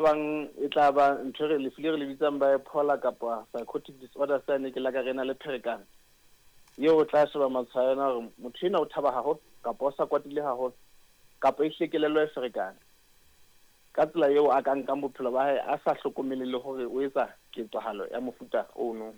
Bang e tla ba ntho e re lefu le re le bitsang bipolar kapa psychotic disorder, sane ke la ka re na le pherekano eo o tla sheba matshwao a yona hore motho enwa o thaba haholo kapa o sa kwatile haholo kapa ehlile kelello e ferekane ka tsela eo a ka nkang bophelo ba hae a sa hlokomele le hore o etsa ketsahalo ya mofuta ono.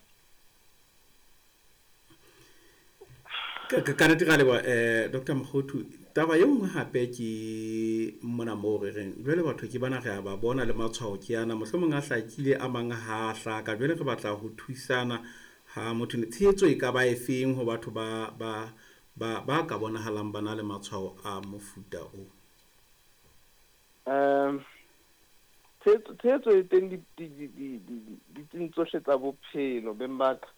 Ka nnete ra leboha Doctor Mokgothu. Taba e nngwe hape ke mona moo re reng jwale batho ke bana re a ba bona le matshwao ke ana, mohlomong a hlakile a mang ha a hlaka. Jwale re batla ho thusana ha motho tshehetso e ka ba e feng ho batho ba ba ba ba ka bonahalang ba na le matshwao a mofuta o? Tshehetso e teng ditsing tsohle tsa bophelo beng ba ka.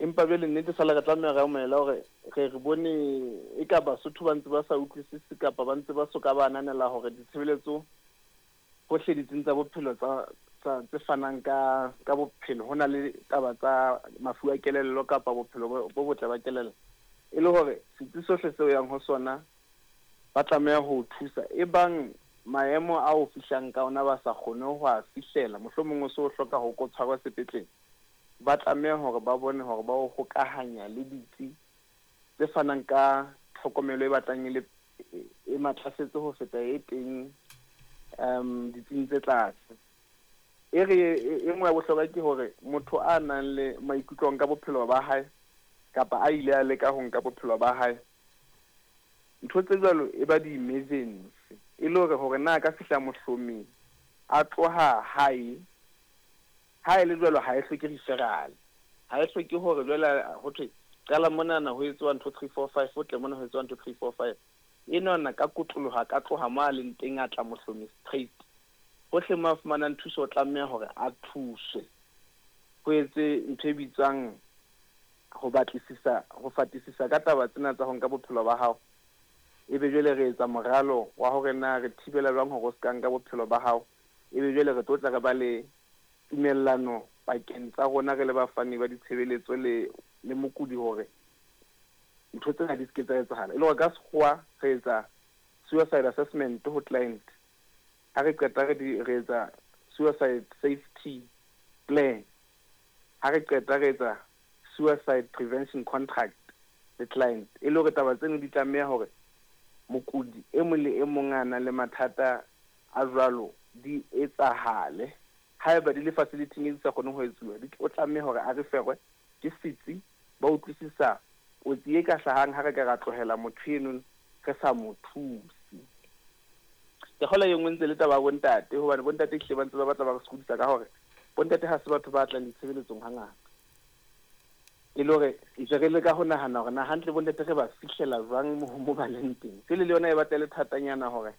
Empa jwale nnete fela re tlameha re amohele hore re re bone eka Basotho ba ntse ba sa utlwisise kapa ba ntse ba soka ba ananela hore ditshebeletso hohle ditsing tsa bophelo tsa tsa tse fanang ka ka bophelo ho na le taba tsa mafu a kelello kapa bophelo bo botle ba kelello. E le hore setsi sohle seo yang ho sona ba tlameha ho o thusa. Ebang maemo a o fihlang ka ona ba sa kgone ho a fihlela, mohlomong o se o hloka ho ko tshwarwa sepetlele, ba tlameha hore ba bone hore ba o hokahanya le ditsi tse fanang ka tlhokomelo e batlang e le e matlafetse ho feta e teng ditsing tse tlase. E re e nngwe ya bohlokwa ke hore motho a nang le maikutlo a ho nka bophelo ba hae kapa a ile a leka ho nka bophelo ba hae, ntho tse jwalo e ba di-emergency e le hore hore na a ka fihla mohlomeng a tloha hae. Ha e le jwalo ha e hloke referral, ha e hloke hore jwale ho thwe qala monana ho etsoa ntho three, four, five, o tle mona ho etsoa ntho three, four, five. Enwana ka kotloloho a ka tloha mo a leng teng a tla mohlomi straight. Hohle mo a fumanang thuso o tlameha hore a thuswe. Ho etswe ntho e bitswang ho batlisisa, ho fatisisa ka taba tsena tsa ho nka bophelo ba hao. Ebe jwale re etsa moralo wa hore na re thibela jwang hore o se ka nka bophelo ba hao. Ebe jwale re tlo tla re ba le tumellano pakeng tsa rona re le bafani ba ditshebeletso le le mokudi hore ntho tsena di se ke tsa etsahala. E le hore ka sekgowa re etsa suicide assessment ho client. Ha re qeta re di re etsa suicide safety plan. Ha re qeta re etsa suicide prevention contract le client. E le hore taba tseno di tlameha hore mokudi e mong le e mong a nang le mathata a jwalo di etsahale. Haeba di le facility-ing e di sa kgoneng ho etsuwa, di o tlameha hore a referwe ke setsi. Ba utlwisisa kotsi e ka hlahang ha re ka ra tlohela motho eno re sa mo thuse. Ke kgolwa e nngwe ntse le taba ya bontate, hobane bontate ehlile ba ntse ba batla ba re sokodisa ka hore bontate ha se batho ba tlang ditshebeletsong hangata. E le hore ntse re leka ho nahana hore na hantle bontate re ba fihlela jwang mo ba leng teng. Jwale le yona e batla e le thatanyana hore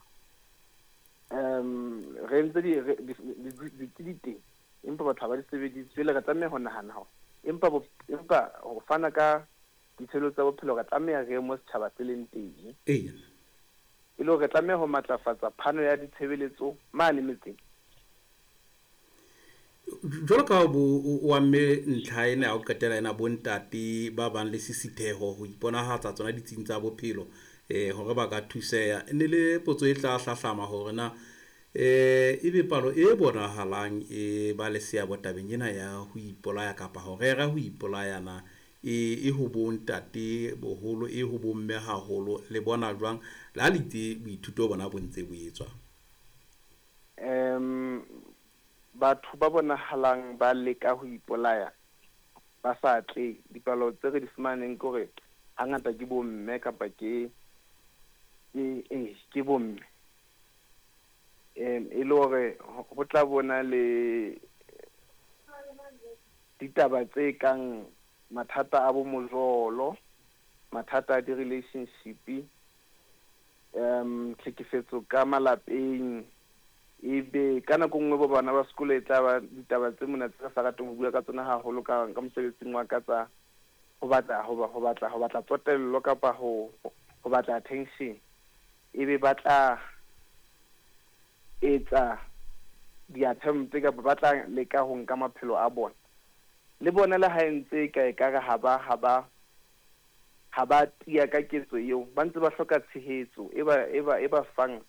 re entse ditsi di teng empa batho ha ba di sebedise. Jwale re tlameha ho nahana hore empa empa ho fana ka ditshebeletso tsa bophelo re tlameha re ye mo setjhaba se leng teng. Eya. E le hore re tlameha ho matlafatsa phano ya ditshebeletso mane metseng. Jwalo ka bo o amme ntlha ena ya ho qetela ena, bontate ba bang le sisitheho ho iponahatsa tsona ditsing tsa bophelo hore ba ka thuseha. E ne le potso e tla hlahlama hore na ebe palo e bonahalang e ba le seabo tabeng ena ya ho ipolaya kapa ho rera ho ipolaya na e ho bontate boholo, e ho bomme haholo, le bona jwang le ha le itse boithuto bona bo ntse bo etswa? Batho ba bonahalang ba leka ho ipolaya ba sa atlehe, dipalo tse re di fumaneng ke hore hangata ke bomme kapa ke ke eh ke bomme. E le hore ho tla bona le ditaba tse kang mathata a bo mojolo, mathata a di-relationship, tlhekefetso ka malapeng, ebe ka nako nngwe bo bana ba sekolo e tla ba ditaba tse mona tse re sa rateng ho bua ka tsona haholo ka ka mosebetsing wa ka tsa ho batla ho batla ho batla tsotello kapa ho ho batla attention. Ebe ba tla etsa di-attempt kapa ba tla leka ho nka maphelo a bona. Le bona le ha e ntse e ka ekare ha ba ha ba ha ba tiya ka ketso eo, ba ntse ba hloka tshehetso e ba e ba e ba fang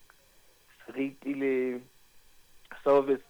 seriti le Service.